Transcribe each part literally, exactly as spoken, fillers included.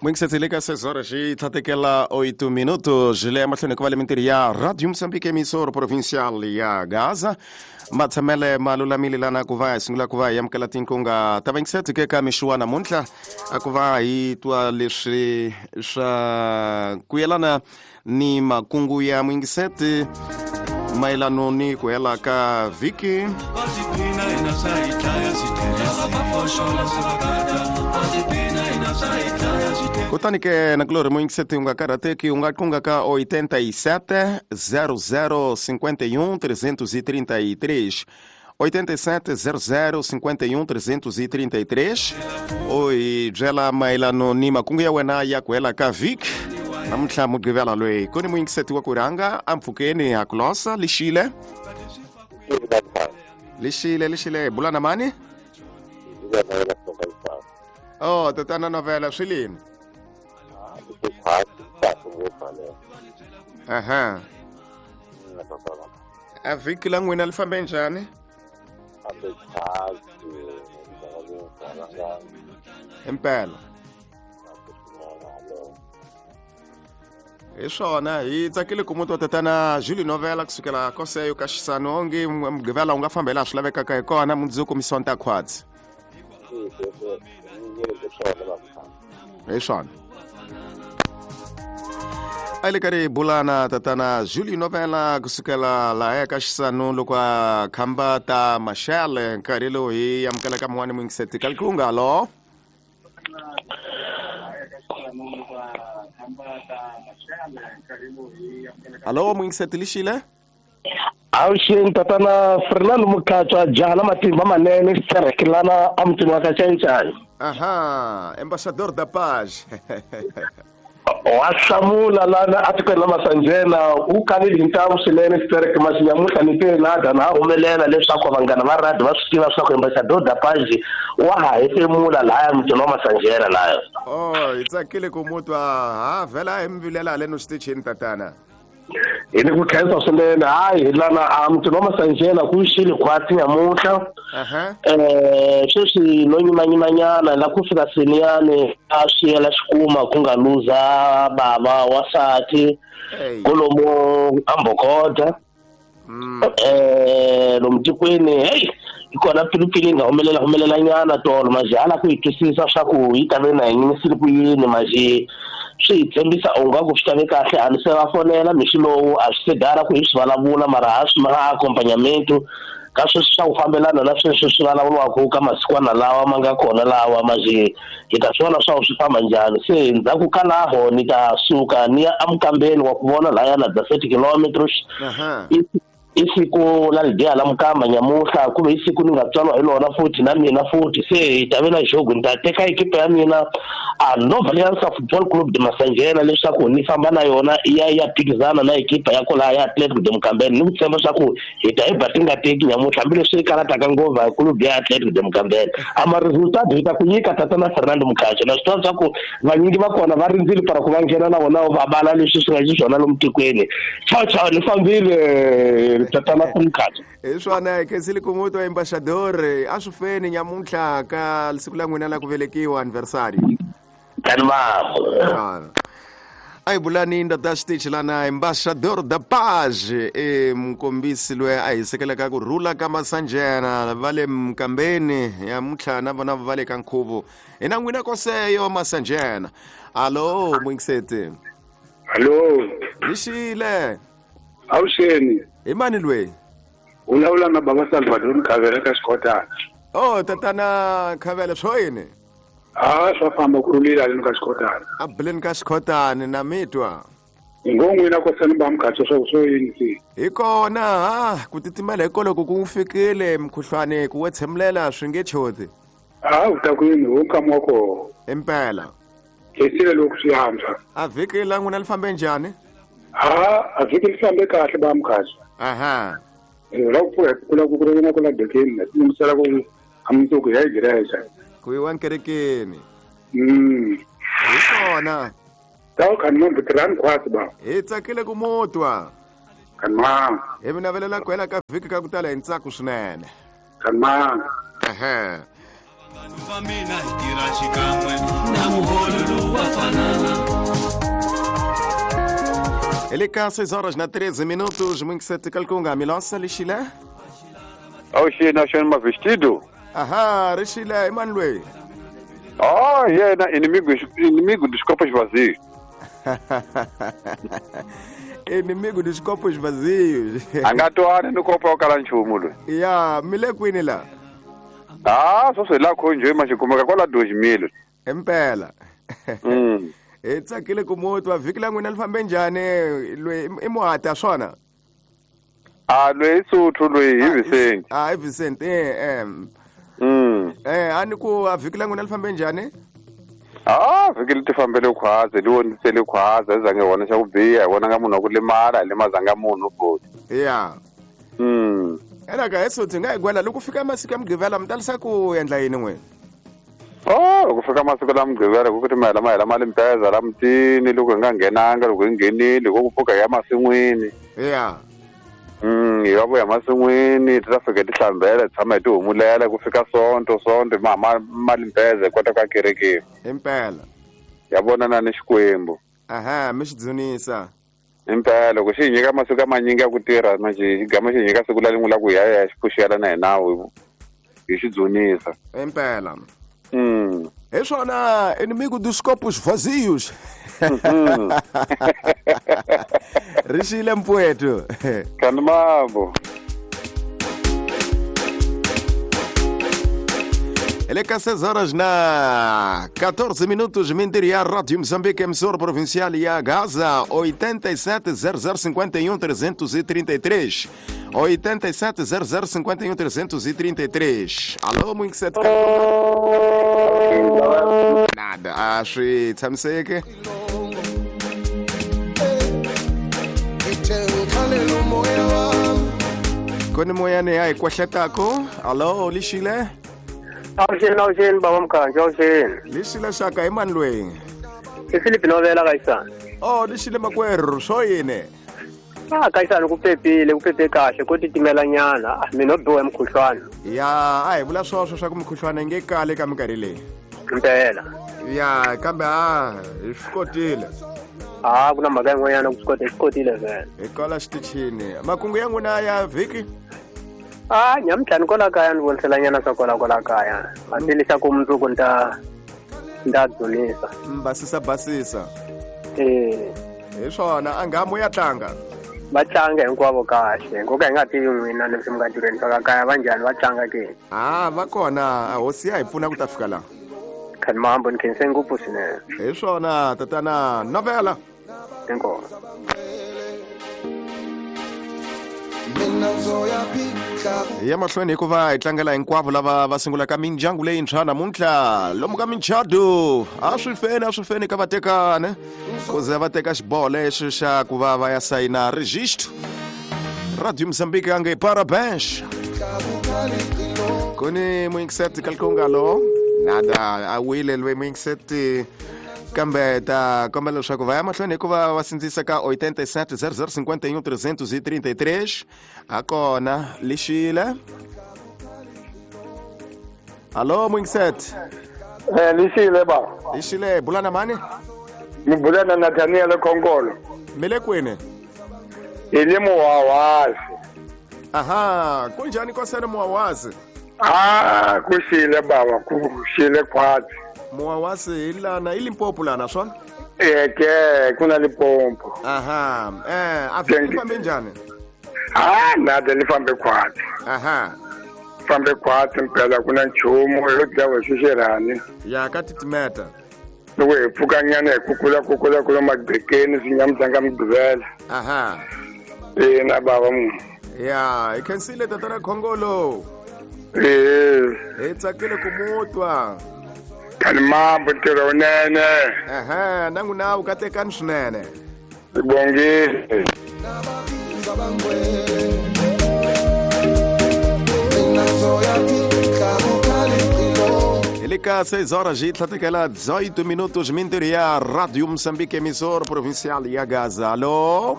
Mwingisetsele ka seis horas e tlhatekela oito minutos le mahlweni ku va le mintirho ya Radio Moçambique emissora provincial ya Gaza matshamele ma lulamile lana ku va hi sungula ku va hi amukela tinkunga ta vayingiseti ke ka mixo wa namuntlha a ku va hi twa leswi swa ku yelana ni makungu ya mwingiseti mayelano ni ku hela ka vhiki. Kutani ke na kulori muyingiseti u nga karhateki u nga qunga ka oitenta e sete zero zero cinquenta e um trezentos e trinta e três oitenta e sete zero zero cinquenta e um trezentos e trinta e três oi byela mayelano ni makungu ya wena ya ku hela ka vhiki namuntlha mugqivela loyi ku ni muyingiseti wa ku rhanga ampfhukeni ha kulosa lixile lixile lixile bula na mani. Oh, tatana novela swi lini? Aha. A vhiki la n'wina li fambe njhani? Impela. Hi swona hi tsakile ku mutwa tatana Julie Novela kusukela koseyo ka xisano onge mugqivela u nga famba hi laha swi lavekaka hi kona mundzuku misonta khwatsi. Hi swona. A le karhi hi bulana tatana Julie Novela kusukela laha ka xisano loko a khamba ta maxele nkarhi lowu hi amukelaka mun'wani muyingiseti ka likunga. Alo alo muyingiseti lixile. Avuxeni tatana Fernando Mukhatswa jaha la matimba manene xiterekelana emutini wa ka Xincani. Aha, ambassador da paz. Wa hlamula lana atikweni la Masanjena u kanile hi ntamu swinene xitereke maxinyamuntlha ni te na na humelela leswaku vanghana va radio va swi tiva leswaku ambassador da paz wa ha hefemula lahaya mutini wa Masanjena laya. Oh, hi tsakile ku mutwa ha vhela hi mi vilela haleno xitichini tatana. Hi ni ku khensa swinene hayi hi lana a mutini wa Masanjena ku xile khwatsi nyamuntlha um sweswi no nyimanyimanyana la ku fika seniyani a swi yela xikuma ku nga luza bava wasati kolomo ambokoda um lomu tikweni heyi hi kona pilipili yi nga humelela humelelanyana tolo maji hala ku hi twisisa swa ku yi ta ve na hi nyimisile ku yini maji swi hi tshembisa ungaku swi ta ve kahle a ni se va fonela mixi lowu a swi se gara ku hi swi vulavula mara ha swi ma accompagnamento ka sweswi swa ku fambelana na sweswi swi vulavuriwaka ka masikwana lawa ma nga kona lawa maji hi ta swi vona swa ku swi famba njhani se ndzhaku ka laho ni ta suka ni ya emukambeni wa ku vona lahaya na thirty kilometers i siku la lidiya la mukamba nyamuhla kumbe i siku ni nga tswalwa hi lona futhi na mina futhi se hi ta ve na jogo ni ta teka ekipa ya mina a Nova Aliança Football Club de Masanjena leswaku ni famba na yona ya ya phikizana na ekipa ya kwalaha ya Atletico de Mukambeni ni ku tshemba swa ku hi ta hi ba ti nga teki nyamuntlha hambileswi yi karataka ngopfu hi club ya Atletico de Mukambeni a ma resultado hi ta ku nyika tatana Fernando Mukhatsho na swi tiva swa ku vanyingi va kona va rindzile para ku va nghena na vona va bala leswi swi nga xiswona lomu tikweni chao chao ni fambile tatana Mukhatsho. Hi swona hi khensile ku mutwa embaxador a swi feni nyamuntlha ka siku la n'wina la ku velekiwa anniversary. A hi bulani ndata xitichi lana ambassador da paz e mukombisi loyi a hisekelaka ku rhula ka Masanjena va le mukambeni ya muntlha na vona va le ka nkhuvo hi na n'wina koseyo Masanjena. Alo muyingiseti. Alo lixile. Avuxeni. Hi mani loyi? U vulavula na baba Salvador Khavela ka Xikotana. Oh tatana Khavela swo yini? Ah swa famba ku rhulile haleni ka Xikotana. A buleni ka Xikotani na mi twa. Ngo n'wina kosani ba Mukhatsho swa ku swo yini se? Hi kona ha ku titimela hikwalaho ku fikile mukhuhlwani ku wetshemlela swi nge choti. Ah u ta ku yini ho nkama wa koho. Impela. Khensile loko swi antswa. A vhiki la n'wina li fambe njhani? Ah a vhiki li fambe kahle ba Mukhatsho. Aha. La ku pfuka ku la ku ku ri na ku la dekeni na timisela ku a mundzuku ya igreja. Ku yiwa nkerekeni. Mm. Hi kona. Tawu khani mambutirani khwatsi ba. Hi tsakile ku mutwa. Khani ma. Hi mi navelela ku hela ka vhiki ka ku tala hi ntsako swinene. Khani ma. Ehe. Va mina hi tirha xikan'we na muholo lowu wa fana. Ele cá seis horas na treze minutos, muito sete calcunga, Milosa lixile. Oxi, nós chamamos vestido. Aham, Rixile, Emanuel. Oh, yeah, inimigo, inimigo dos copos vazios. Inimigo dos copos vazios. Angatoane no copo ao calanchumo. Yeah, mile kwini la. Ah, só sei lá conje, mas como é qual dois mil. Impela. Mm. Etsakile ku mutwa vhiki la n'wina li fambe njhani lwe i muhata swona? Ah, lwe i Sotho lwe hi Vicente. Ah, i Vicente eh eh. Mm. Eh, ani ku a vhiki la n'wina li fambe njhani? Ah, vhiki li ti fambele khwaze, li vonisele khwaze, zange vona xa ku biha, hi vona nga munhu wa ku limala, hi limazanga munhu futhi. Yeah. Mm. Ena ka Sotho nga hi gwela loko fika masiku ya Mugqivela mi talisa ku endla yini n'wina? Oh, loko fika masiku la Mugqivela ku kuti mahela mahela mali mpeza la mutini loko hi nga nghenanga loko hi nghenile ku pfuka hi ya masin'wini. Yeah. Mm, hi va vuya masin'wini ti ta fika ti hlambela tshama hi ti humulela ku fika sonto sonto ma mali mpeza hi kota ku ya kerekeni. Impela. Ya vonana ni Xikwembu. Aha, mi xi dzunisa. Impela loko xi hi nyika masiku ya manyingi ya ku tirha manje xi gama xi hi nyika siku la lin'we la ku hi ya ya xi pfuxela na hi nawu hi xi dzunisa. Impela. Mm. Hi swona inimigo dos copos vazios. Rixile mpfweto. Kanimambo. Ele cá seis horas na quatorze minutos, Mintiria, Rádio Moçambique, emissora provincial e a Gaza, oitenta e sete zero zero cinquenta e um trezentos e trinta e três. oitenta e sete zero zero cinquenta e um trezentos e trinta e três. Alô, muito sete. Nada, acho que tshamiseke. Kone moyane ya ikwahletako. Alô, lixile. Awuxeni, awuxeni baba Mkhanji, awuxeni. Lixile xaka Emanuel. I Philip Novela kaYisana. Oh, lixile makwerhu, swo yini? Ah, kaYisana ku pepile, ku pepe kahle, ko titimela nyana. Mina no biwa hi mukhuhlwana. Ya, a hi vula swoswo swa ku mukhuhlwana yi nge kali ka minkarhi leyi. Impela. Ya, kambe a hi swi kotile. Ah, ku na mhaka yin'wanyana ku swi kota, hi swi kotile vhele. Hi kwala xitichini. Makungu ya n'wina ya vhiki? Ah, nyamuntlha ni kwala kaya ni vonisela nyana swa kwala kwala kaya. Hambi leswaku mundzuku ni ta ni ta dzunisa. Basisa basisa. Eh. Hi swona, a nga mo ya tlanga. Va tlanga hinkwavo kahle. Nkoka hi nga tivi n'wina leswi mi nga tirheni swa kaya va njhani va tlanga ke? Ah, va kona. Hosi ya hi pfuna ku ta fika laha. Khanimambo ni khense ngopfu swinene. Hi swona, tatana Novela. Inkomu. Ya mahlweni hikuva hi tlangela hinkwavo lava va sungulaka mindyangu leyintshwa namuntlha lomu ka minchado a swi feni a swi feni ka vatekani ku ze va teka xiboho lexi xa ku va va ya sayina registro. Radio Moçambique ange parabéns. Kuni muinkseti kalkungalo nada a wile lwe muinkseti kambe ta kombela leswaku va ya mahlweni hikuva va sindzisa ka oitenta e sete zero zero cinquenta e um trezentos e trinta e três. A kona lixile. Alô, Muinksete. Eh, lixile ba. Lixile, bulana mani? Ni bulana na Daniel Kongolo. Mile kwini? Ile Muwawazi. Aha, kunjani kosana Muwawazi? Ah, kushile baba, kushile khwazi. Muwawazi ilana iLimpopo lana swona? Eh ke kuna Limpopo. Aha, eh afike fambe njani? Ah, nada li fambe khwazi. Aha. Fambe khwazi mpela kuna nchumu yo dlawa xixirani. Ya ka titimeta. Loko hi pfuka nyana hi kukula kukula kula magqekeni swinyamutanga Mugqivela. Aha. Eh na baba mu. Ya, hi khensile tatana Khongolo. Eh. Hi tsakile ku mutwa. Kanimambo ntirho wunene. Aha, nangu nawu katekani swinene. Sibongile. Ele cá seis horas e tlatekela dezoito minutos Minteria Rádio Moçambique emissora provincial e a Gaza. Alô?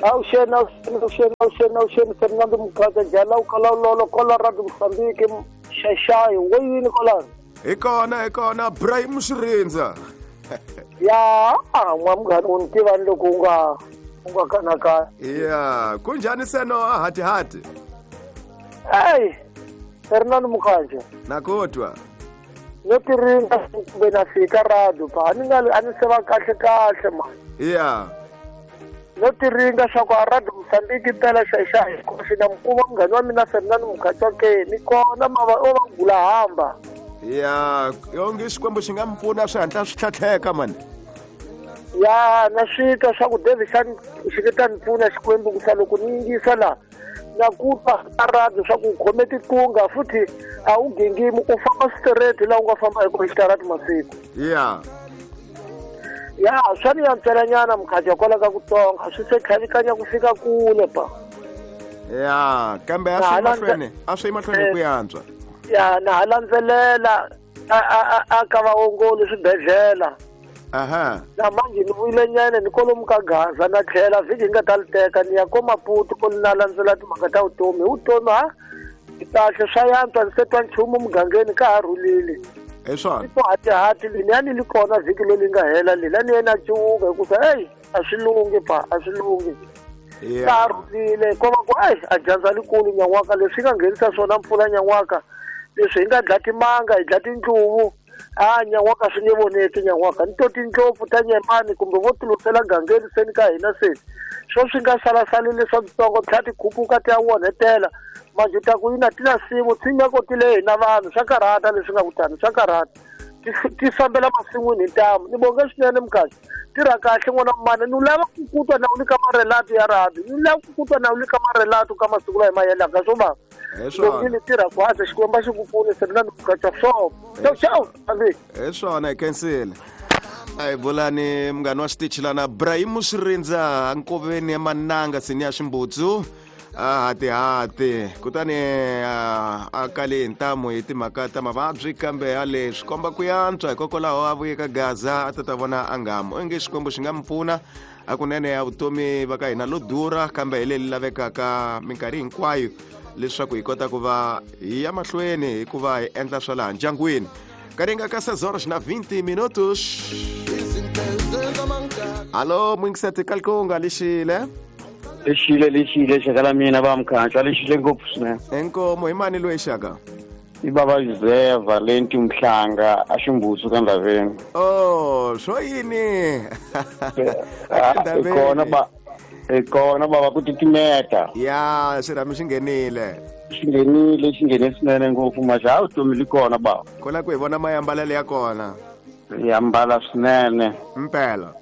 Awuxeni, awuxeni, awuxeni, awuxeni, awuxeni, Fernando Mukhaza Jala ukhala ulolo kola Radio Moçambique xaxayo weyini kolano. Hi kona, hi kona Ibrahim Xirindza. Ya n'wa munghana u ni tiva ni loko u nga u nga kanakana. Ya kunjhani seno a hati hati? Eyi Fernando Mukhanjo. Na ku twa. No tiringa kumbe na fika radio pa a ni nga a ni se va kahle kahle ma. Ya. No tiringa swa ku a radio Mozambique impela xa xa hi koxe na mukuma munghana wa mina Fernando Mukhanjo ke ni kona ma va o va gula hamba. Ya yonge Xikwembu xi nga mi pfuna swi hatla swi tlhatlheka mani. Ya na swi twa swa ku David xa xi ta ni pfuna Xikwembu ku sa loko ni yingisa la na ku twa a radio swa ku u khome tikunga futhi a wu gingimi u famba straight laha u nga famba hi kona xitarati masiku. Ya. Ya swa ni antswelanyana Mukhanjo kwala ka ku tonga swi se tlhavikanya ku fika kule pa. Ya kambe a swi mahlweni a swi mahlweni ku yantswa. Ya na ha landzelela a a a ka vaongoli swibedhlele. Aha. Na manje ni vuyile nyana ni kwalomu ka Gaza na tlhela vhiki hi nga ta li teka ni ya ko Maputo ko na landzela timhaka ta vutomi hi vutomi ha kahle swa yantswa ni se twa nchumu mugangeni ka ha rhulile. Hi swona. Ko hatihati leniya ni li kona vhiki leri nga hela lela ni yena cuvuka hikuva eyi a swi lunghi pa a swi lunghi. Ka ha rhulile ko va ku eyi a dyandza likulu nyan'waka leswi nga nghenisa swona mpfula nyan'waka leswi hi nga dla timanga hi dla tindluvu a nyan'waka swi nge voneki nyan'waka ni to tindlopfu ta nyemani kumbe vo tilusela gangeni seni ka hina seni swo swi nga salasalile swa switsongo tlha ti khupuka ti ya onhetela manje ta ku yina ti na simu tshinya ko ti le hina vanhu swa karhata leswi nga kutani swa karhata ti fambela masin'wini hi ntamu ni bonge swinene Mukhanjo tirha kahle n'wana mani ni lava ku kutwa na u le ka marelato ya radio ni lava ku kutwa na u le ka marelato ka masiku lawa hi ma endlaka swo va loko ni tirha khwatsi Xikwembu xi ku pfune Fernando Mukhanjo swo ciao ciao hi swona hi khensile. A hi bulani munghana wa xitichi lana Ibrahim Swirindza nkoveni ya Mananga seni ya Ximbutsu a hatihati kutani a kale hi ntamu hi timhaka ta mavabyi kambe a le swi komba ku yantswa hikokwalaho a vuye ka Gaza a ta ta vona a ngamu onge Xikwembu xi nga mi pfuna a kunene ya vutomi va ka hina lo durha kambe hi leri lavekaka minkarhi hinkwayo leswaku hi kota ku va hi ya mahlweni hikuva hi endla swa laha ndyangwini. Karinga ka seis horas na vinte minutos. Alô, mwingiseti kalkunga lixile. Lixile lixile xaka la mina va Mukhanjo lixile ngopfu swinene. Inkomo hi mani loyi xaka? I baba José Valenti Mhlanga a Ximbutsu ka Ndaveni. Oh, swo yini? Kona ba kona baba ku titimeta. Ya, xirhami xi nghenile. Xi nghenile xi nghene swinene ngopfu maxa a vutomi li kona baba. Kona ku hi vona mayambalelo ya kona. Ya mbala swinene. Mpela.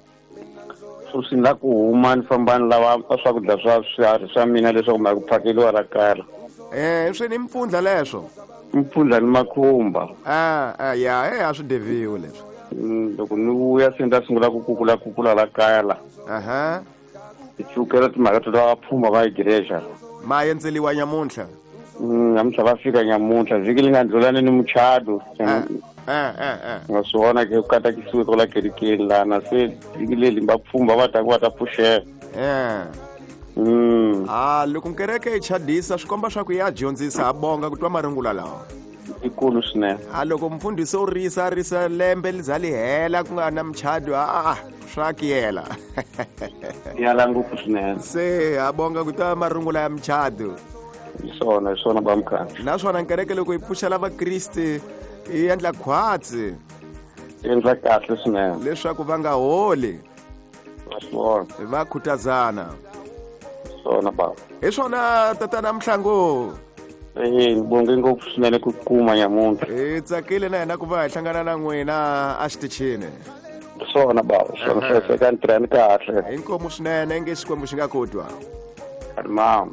Swi la ku huma ni famba ni lava swakudya swa swiharhi swa mina leswaku ma ku phakeliwa la kaya. Eh, swi ni mpfundla leswo. Mpfundla ni makhumba. Ah, ah ya, eh a swi deviwe leswo. Loko ni vuya se ni ta sungula ku kukula kukula la kaya la. Aha. Ti chukela timhaka to ta pfhumba va igreja. Ma yendzeliwa nyamuntlha. Mm, namuntlha va fika nyamuntlha vhiki li nga ndlulani ni muchado. Eh eh eh. Nga swi vona ke ku katakisiwe kwala kerekeni lana se vhiki leri va pfhumba va ta ku va ta pfuxela. Eh. Mm. Ah, loko nkereke yi chadisa swi komba swa ku ya dyondzisa a bonga ku twa marungula lawa. Ikulu swinene. A loko mfundhisi u risa risa lembe li za li hela ku nga na muchado a swa kiyela. Yala ngopfu swinene. Se a bonga ku twa marungula ya muchado. Hi swona hi swona ba Mukhanjo. Naswona nkereke loko yi pfuxela vakriste yi endla khwatsi. Yi endla kahle swinene. Leswaku va nga holi. Swona. Va khutazana. Swona baba. Hi swona tatana Mhlangu. Eh, bonge ngopfu swinene ku kuma nyamuntlha. Hi tsakile na hina ku va hi hlangana na n'wina a xitichini. Swona baba, swona hlayiseka ni tirhani kahle. Inkomu swinene nge Xikwembu xi nga ku twa. Mama.